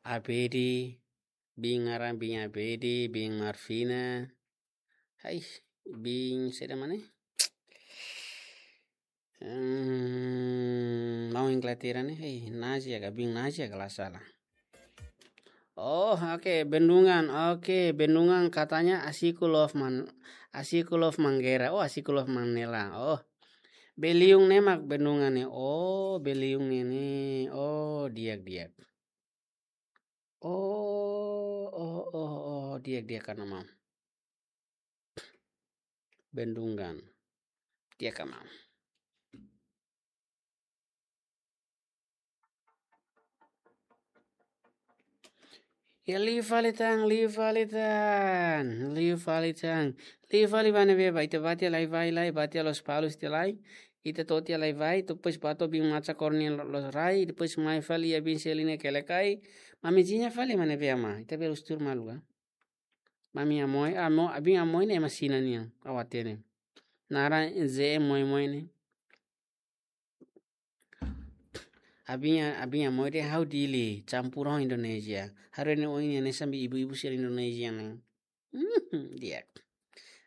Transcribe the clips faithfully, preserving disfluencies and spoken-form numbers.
Abedi, biin naran biin Abedi, biin Marvina. Ai, biin saida mak ne'e? Hmm, maun Inglaterra ne'e, hei, Nazia ka, biin Nazia ka la sala. Oh, oke, Bendungan, oke, Bendungan katanya Asiku Love Man, Asiku Love Manggera, oh, Asiku Love Manela, oh. Beliung ne'e mak Bendungan ne'e, oh, Beliung ne'e ne'e, oh, di'ak, di'ak. Oh, oh, oh, oh, di'ak, di'ak ka maun. Bendungan. Di'ak ka maun. Ya, liu fali tan, liu fali tan, liu fali tan. Liu fali ba ne'ebé ba, ita bá tiha lai-vai lai, bá tiha Lospalos tiha lai. Ita to'o tiha lai-vai, depois bá to'o biin Macha Koro nian lo-, loos rai, depois mai fali iha biin Selina Kelekai. Mami Zinha fali ba ne'ebé ama, ita bele husu tuir malu ka. Mami Amoi, amo, abin Amoi ne'e ema Xina nian, ha'u hatene. Naran J M Moi Moi ne'e. Abin, abin Amoi dehan ha'u Dili, campur ho Indonesia. Haree ne'e oin ne'e hanesan ibu-ibu sira Indonesia ne'e. Hmm, di'ak.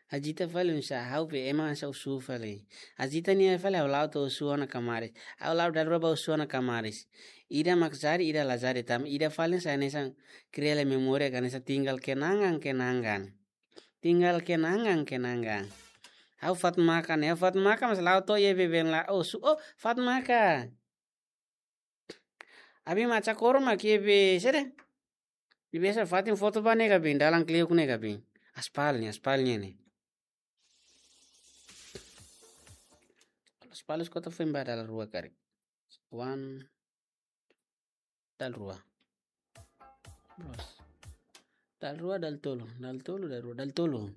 Azita fali oinsá, ha'u be ema hanesan Osu fali. Azita nia fali ha'u la'o to'o Osu ona kamaris. Ha'u la'o dala rua ba Osu ona kamaris. Ida mak jadi, ida la jadi, tanba ida fali hanesan, hanesan kria lai memória ka hanesan tinggal kenangan-kenangan. Tinggal kenangan-kenangan. Ha'u Fatmaka ne'e, ha'u Fatmaka mas la'o to'o iha beben la Osu, oh, Fatmaka. Abin Macha Koro mak iha be, saida? Di biasa fatin foto ba ne'e ka biin, dalan kleuk ne'e ka biin. Aspal ne'e, aspal ne'e ne'e. Lospalos kota foin ba dala rua karik. One, dala rua. Bos. Dala rua, dala tolu, dala tolu, dala rua, dala tolu.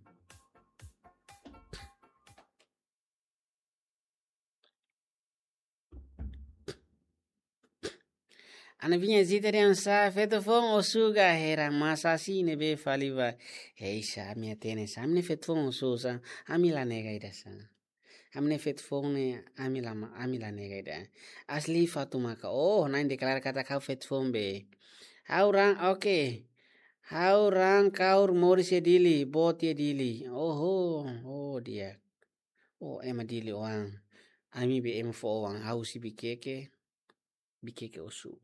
Ana Vinha Zita dehan sá, feto foun Osu ka Hera, mas hanesan ne'ebé fali ba. Hei, sá, ami hatene sá, ami ne'e feto foun Osu sá, ami la nega ida sá. Ami ne'e feto foun ne'e, ami la ma-, ami la nega ida. Asli Fatmaka, oh, na'in deklara katak ha'u feto foun be. Ha'u raan, oke. Ha'u raan kaur moris iha Dili, boot iha Dili. Oho, oh, di'ak. Oh, ema Dili oan. Ami be ema foho oan, ha'u husi Vikeke. Vikeke Osu.